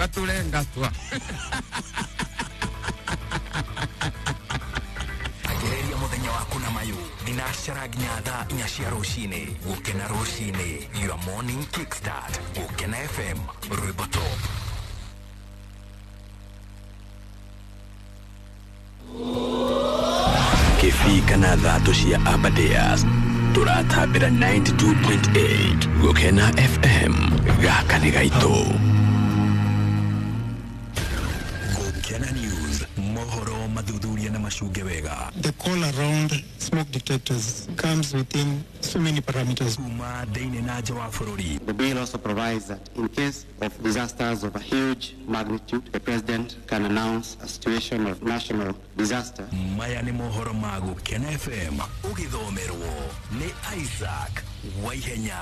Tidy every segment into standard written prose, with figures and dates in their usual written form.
Ũgatũre ngatwa. Anjĩrĩria mũthenya waku na mayũ thinacara nginya thaa 4 cia rũcinĩ. Gũkena rũcinĩ, your morning kickstart. Gũkena FM, rwĩmbo top. Kĩbii kana thatũ cia Aberdares tũratambĩra 92.8 Gũkena FM gaka nĩ gaitũ. Gũkena News, mohoro mathuthuria na macunge wega. The call around smoke detectors comes within so many parameters. Kuma thĩinĩ na nja wa bũrũri. The bill also provides that in case of disasters of a huge magnitude, the president can announce a situation of national disaster. Maya nĩ mohoro ma Gũkena FM ũgĩthomerwo nĩ Isaac Waihenya.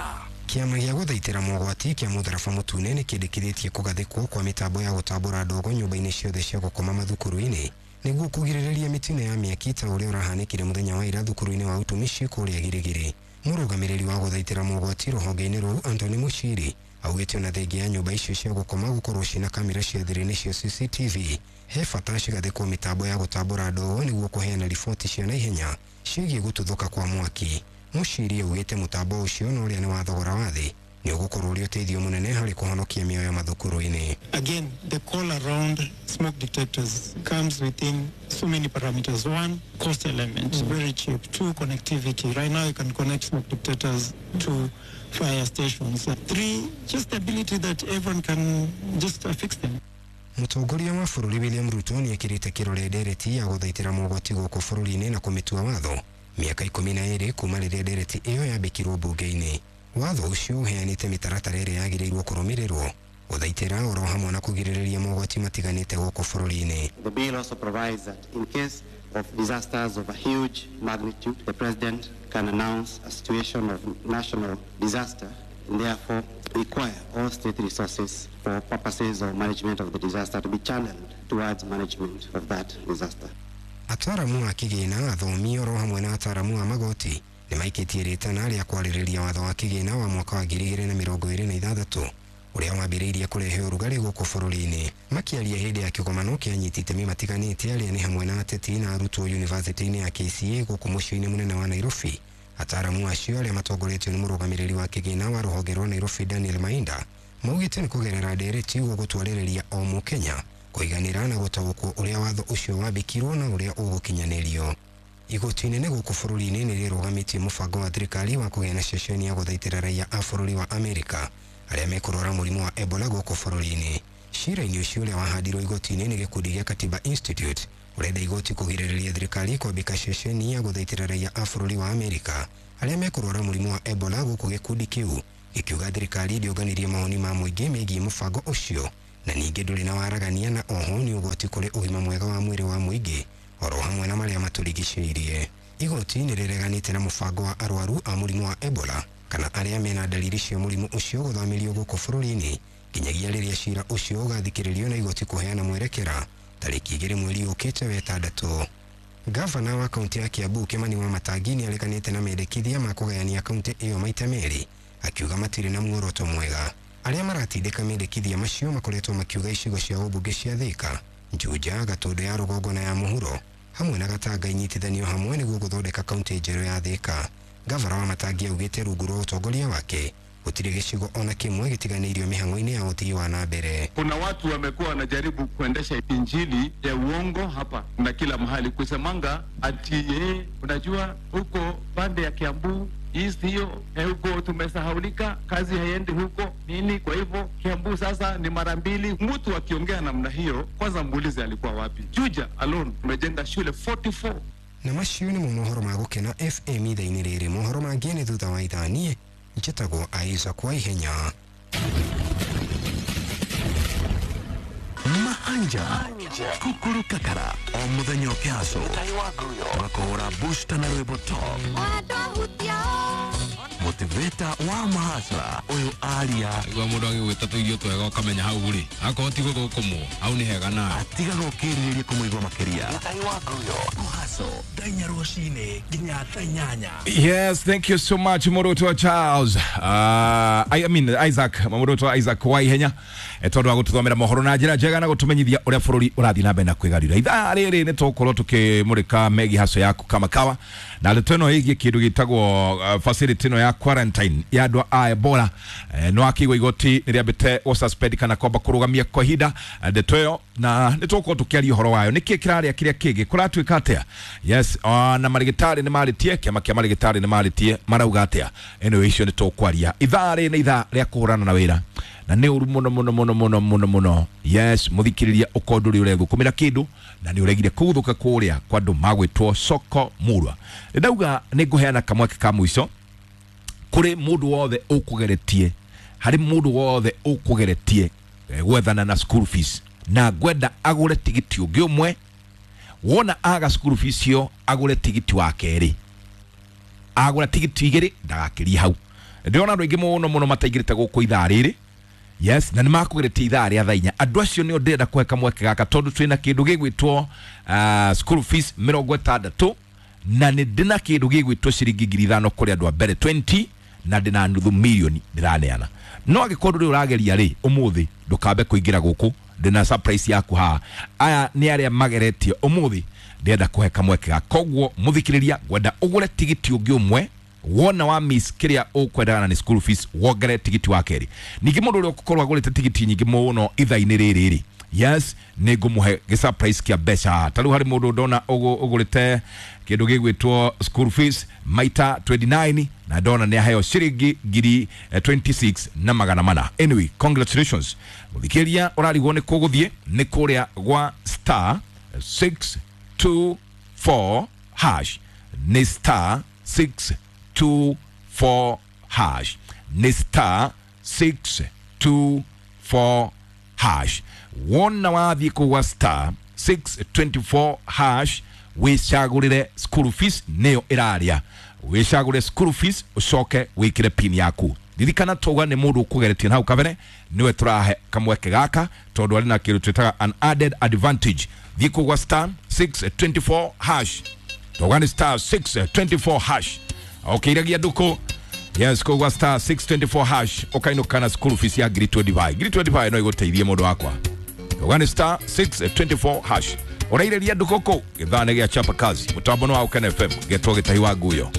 Kĩama gĩa gũthaitĩra mogwati kĩa mũtharaba mũtune nĩ kĩndĩkithĩtie kũgathĩkwo kwa mĩtambo ya gũtambũra ndogo nyũmba-inĩ ciothe cia gũkoma mathukuru-inĩ nĩguo kũgirĩrĩria mĩtino ya mĩaki ta ũrĩa ũrahanĩkire mũthenya wa ira thukuru-inĩ wa utumishi kũrĩa Girigiri. Mũrũgamĩrĩri wa gũthaitĩra mogwati rũhonge-inĩ rũu Anthony Mushiri augĩte ona thengia ya nyũmba icio cia gũkoma gũkorwo ciĩna kamera cia thiri nĩcio CCTV, he bata cigathĩkwo mĩtambo ya gũtambũra ndogo nĩguo kũheana riboti cia naihenya ciĩgiĩ gũtuthũka kwa mwaki. Mushiri augĩte mũtambo ũcio na ũrĩa nĩ wa thogora wa thĩ nĩ ũgũkorwo ũrĩ ũteithio mũnene harĩ kũhonokia mĩoyo mathukuru-inĩ. Again, the call around smoke detectors comes within so many parameters. One, cost element, very cheap. Two, connectivity. Right now you can connect smoke detectors to fire stations. Three, just the ability that everyone can just affix them. Mũtongoria wa bũrũri William Ruto nĩ ekĩrĩte kĩrore ndereti ya gũthaitĩra mogwati gũkũ bũrũri-inĩ na kũmĩtua watho mĩaka 12 kuma rĩrĩa ndereti ĩyo yambĩkirwo mbunge-inĩ. Watho ũcio ũheanĩte mĩtaratara ĩrĩa yagĩrĩirwo kũrũmĩrĩrwo gũthaitĩra oro hamwe na kũgirĩrĩria mogwati matiganĩte gũkũ bũrũri-inĩ. The bill also provides that in case of disasters of a huge magnitude, the president can announce a situation of national disaster and therefore require all state resources for purposes of management of the disaster to be channeled towards management of that disaster. Ataramu a kĩgĩna, athomi oro hamwe na ataramu a magoti nĩ maikĩtie rĩtana rĩa kwarĩrĩria watho wa kĩgĩna wa mwaka wa 2026 ũrĩa wambĩrĩirie kũrehe ũrugarĩ gũkũ bũrũri-inĩ. Makĩaria hĩndĩ ya kĩgomano kĩa anyiti itemi matiganĩte arĩa nĩ hamwe na ateti na arutwo yunivasĩtĩ-inĩ ya KCA gũkũ mũciĩ-inĩ mũnene wa Nairobi, ataramu acio arĩa matongoretio nĩ mũrũgamĩrĩri wa kĩgĩna wa rũhonge rwa Nairobi Daniel Mainda maugĩte nĩ kũgerera ndereti gũgũtwarĩrĩria o mũkenya kũiganĩra na gũtaũkwo ũrĩa watho ũcio wambĩkirwo na ũrĩa ũgũkinyanĩrio. Igoti inene gũkũ bũrũri-inĩ nĩ rĩrũgamĩtie mũbango wa thirikari wa kũgĩa na ceceni ya gũthaitĩra raia a bũrũri wa Amerika arĩa mekũrwara mũrimũ wa Ebola gũkũ bũrũri-inĩ. Cira-inĩ ũcio ũrĩa wahandirwo igoti-inĩ nĩ gĩkundi gĩa Katiba Institute ũrenda igoti kũgirĩrĩria thirikari kwambĩka ceceni ya gũthaitĩra raia a bũrũri wa Amerika arĩa mekũrwara mũrimũ wa Ebola gũkũ gĩkundi kĩu gĩkiuga thirikari ndĩonganirie mawoni ma mũingĩ megiĩ mũbango ũcio na ningĩ ndũrĩ na waragania na oho nĩ ũgwati kũrĩ ũgima mwega wa mwĩrĩ wa mũingĩ oro hamwe na marĩa matũrigicĩirie. Igoti nĩ rĩreganĩte na mũbango wa arwaru a mũrimũ wa Ebola kana arĩa mena dalili cia mũrimũ ũcio gũthamĩrio gũkũ bũrũri-inĩ nginyagia rĩrĩa cira ũcio ũgathikĩrĩrio na igoti kũheana mwerekera tarĩki 2 mweri ũkĩte wetandatũ. Gavana wa kaunti ya Kiambu Kimani Wamatangi nĩ areganĩte na mendekithia ma kũgayania kaunti ĩyo maita merĩ akiuga matirĩ na muoroto mwega. Arĩa maratindĩka mendekithia macio makoretwo makiuga icigo cia ũmbunge cia Thika, Juja, Gatũndũ ya rũgongo na ya mũhuro hamwe na Gatanga inyitithanio hamwe nĩguo gũthondeka kaunti njerũ ya Thika. Gavana Wamatangi augĩte rungu rwa ũtongoria wake gũtirĩ gĩcigo ona kĩmwe gĩtiganĩirio mĩhang'o-inĩ ya ũthii wa na mbere. Kuna watu wamekuwa wanajaribu kuendesha injili ya uongo hapa na kila mahali kusemanga ati unajua huko pande ya Kiambu East hiyo huko tumesahaulika, kazi haiendi huko nini, kwa hivyo Kiambu sasa ni mara mbili. Mtu akiongea namna hiyo, kwanza muulize alikuwa wapi. Juja alone tumejenga shule 44. Na macio nĩ mohoro ma Gũkena FM ithaa-inĩ rĩrĩ. Mohoro mangĩ nĩ thutha wa ithaa. Niĩ njĩtagwo Isaac Waihenya. Mahanja Kukuru Kakara o mũthenya ũkĩhaco ũgakũhũra booster na rwĩmbo top. Motivator wa mahasla ũyũ aria Igua mũndũ agĩgwĩta tũirio twega ũkamenya hau rĩ akorwo ti gũthũkũmwo hau nĩ hega nawe atigaga ũkĩrirĩria kũmũigua makĩria. Gĩtahi wa Nguyo Kũhaco thaa inya rũcinĩ nginya thaa inyanya. Yes, thank you so much Muruto Charles. I mean Isaac, Muruto Isaac wa ihenya tondu wa gututhomera mohoro na njira njega na gutumenyithia uria bururi urathii na mbere na kwigarira. Ithaa riri ni tugukorwo tukimurika megi haco yaku kama kawa na ndeto ino igie kindu gitagwo facility ino ya quarantine ya andu a Ebola. No akigwa igoti ni riambite go suspend kana kwamba kurugamia kwa ihinda ndeto iyo na ni tugukorwo tukiaria uhoro wayo niki kiraria kiria kingi kuratuika atia. Yes, na marigitari ni maritie kiama kia marigitari ni maritie marauga atia. Anyway, icio ni tukwaria ithaa rĩ nĩ ithaa rĩa kũhũrana na wĩra na nĩ ũru mũno mũno mũno mũno mũno mũno. Yes, mũthikĩrĩria ũkorwo ndũrĩ ũrethũkũmĩra kĩndũ na nĩ ũregire kũguthũka kũrĩa kwa andũ magwĩtwo soko murwa. Nĩ ndauga nĩ ngũheana kamweke ka mũico kũrĩ mũndũ wothe ũkũgeretie, harĩ mũndũ wothe ũkũgeretie gwethana na school fees na ngwenda agũre tigiti ũngĩ ũmwe. Wona aga school fees cio agũre tigiti wa kerĩ, agũra tigiti igĩrĩ ndagakĩrie hau. Ndĩrona andũ aingĩ mũno mũno mataingĩrĩte gũkũ ithaa rĩrĩ. Yes, na nĩ makũgeretie ithaa rĩa thaa inya. Andũ acio nĩo ndĩrenda kũhe kamweke gaka tondũ twĩna kĩndũ gĩgwĩtwo school fees 60 na nĩ ndĩna kĩndũ gĩgwĩtwo ciringi 5,000 kũrĩ andũ a mbere 20 na ndĩna nuthu milioni ndĩraneana. No angĩkorwo ndũrĩ ũrageria rĩ ũmũthĩ ndũkambe kũingĩra gũkũ, ndĩna surprise yaku haha. Aya nĩ arĩa mageretie ũmũthĩ ndĩrenda kũhe kamweke gaka. Koguo mũthikĩrĩria ngwenda ũgũre tigiti ũngĩ ũmwe wona wa miss kiria ukwendana ni school fees wongere tigiti wa keri. Ningĩ mũndũ ũrĩa ũgũkorwo agũrĩte tigiti nyingĩ mũno ithaa-inĩ rĩrĩ rĩ, yes, nĩ ngũmũhe gĩ surprise kĩa mbeca. Ta rĩu harĩ mũndũ ndona ũgũrĩte kĩndũ gĩgwĩtwo school fees maita 29 na ndona nĩ aheo ciringi 26,400. Anyway, congratulations mũthikĩrĩria ũrarigwo nĩ kũgũthiĩ nĩ kũrĩa gwa star 624 hash, nĩ star 624 hash, nĩ star 624 hash. Wona wathiĩ kũgwa star 624 hash wĩcagũrĩre school fees nĩyo ĩraria, wĩcagũre school fees ũcoke wĩkĩre pin yaku. Ririkana tauga nĩ mũndũ ũkũgeretie na hau kabere nĩwe tũrahe kamweke gaka tondũ arĩ na kĩndũ twĩtaga an added advantage. Thiĩ kũgwa star 624 hash, tauga nĩ star 624 hash. Okay, iragia nduku. Yes, kũgwa star 624 hash ũkainũka na school fees ya 25,000. 25,000 no ĩgũteithie mũndũ wakwa. Tauga nĩ star 624 hash. Ũrairĩria nduku kũ gĩthaa nĩ gĩa chapa kazi mũtambo nĩ wa Ũkena FM getwo Gĩtahi wa Nguyo.